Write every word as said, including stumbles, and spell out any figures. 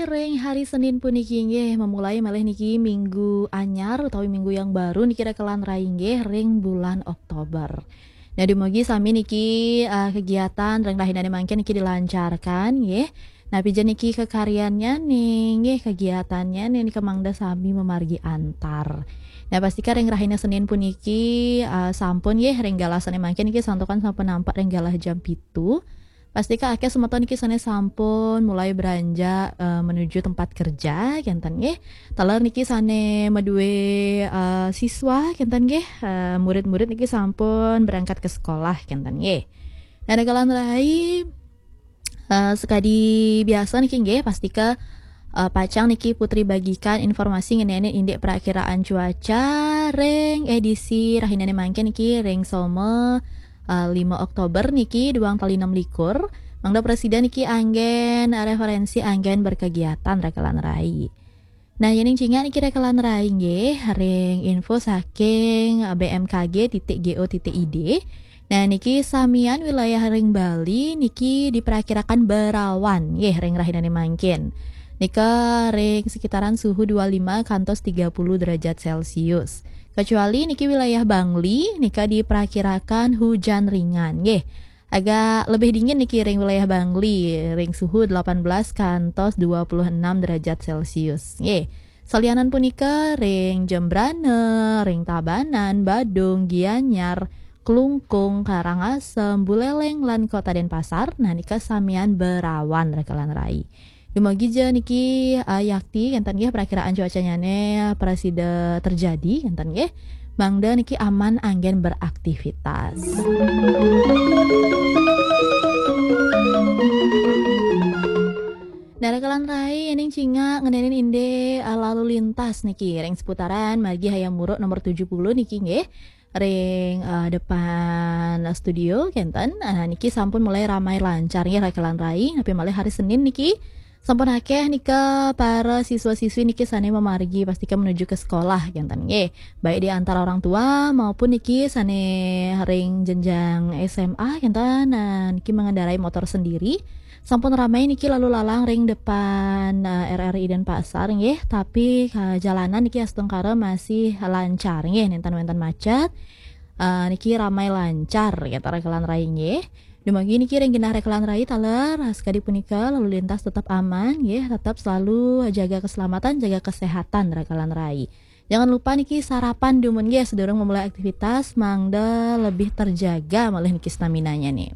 Ring hari Senin puniki nggih memulai malih niki minggu anyar utawi minggu yang baru niki rekelan rai nggih ring bulan Oktober. Nah, dumugi sami niki, eh, kegiatan ring rahinane mangkin niki dilancarkan nggih. Nah, pija niki kekaryannya nih nggih kegiatannya nih niki mangda sami memargi antar. Nah, pastika ring rahina Senin puniki, eh, sampun nggih ring galah sane mangkin niki santukan sampun nampak ring galah jam pitu. Pastika akeh semeton niki sane sampun mulai beranjak, eh, menuju tempat kerja kenten nggih. Taler niki sane madue, eh, siswa kenten nggih, eh, murid-murid niki sampun berangkat ke sekolah kenten nggih. Nah, rekelan rai, eh, sekadi biasa niki nggih, pastika, eh, pacang niki Putri bagikan informasi ngenai indik perakiraan cuaca ring edisi rahinane mangkin niki ring Soma, eh, lima Oktober niki duang tali enam likur. Mangda prasida niki anggen referensi anggen berkegiatan rekelan rai. Nah, yening cingak niki rekelan rai nggih ring info saking B M K G titik G O titik I D. Nah, niki samian wilayah ring Bali niki diperakirakan berawan nggih ring rahinane mangkin. Nika ring sekitaran suhu dua lima kantos tiga puluh derajat Celcius. Kecuali niki wilayah Bangli nika diperakirakan hujan ringan nggih. Agak lebih dingin niki ring wilayah Bangli, ring suhu delapan belas kantos dua puluh enam derajat Celcius. Nggih. Salianan punika ring Jembrana, ring Tabanan, Badung, Gianyar, Klungkung, Karangasem, Buleleng, lan Kota Denpasar, nah nika samian berawan rekelan rai. Dumugi ja niki, eh, yakti kenten nggih perakiraan cuacanyane prasida terjadi kenten nggih. Mangda niki aman anggen beraktivitas. Nah, rekelan rai yening cingak ngenenin indik, eh, lalu lintas niki ring seputaran margi Hayam Wuruk nomor tujuh puluh niki nggih. Ring, eh, depan studio kenten. Nah, niki sampun mulai ramai lancar nggih rekelan rai, napi malih hari Senin niki. Sampun akeh nika para siswa-siswi niki sane memargi pastika menuju ke sekolah kenten nggih. Baik di antara orang tua maupun niki sane ring jenjang S M A kenten. Nah, niki mengendarai motor sendiri. Sampun ramai niki lalu lalang ring depan, eh, R R I Denpasar nggih, tapi, eh, jalanan niki astungkara masih lancar nggih, nenten wenten macet. Eh, niki ramai lancar kenten rekelan rai nggih. Dumugi niki ring genah rekelan rai taler, sekadi punika lalu lintas tetap aman nggih, tetap selalu jaga keselamatan, jaga kesehatan rekelan rai. Jangan lupa niki sarapan dumun nggih sedurung memulai aktivitas, mangda lebih terjaga malih niki staminanya nih.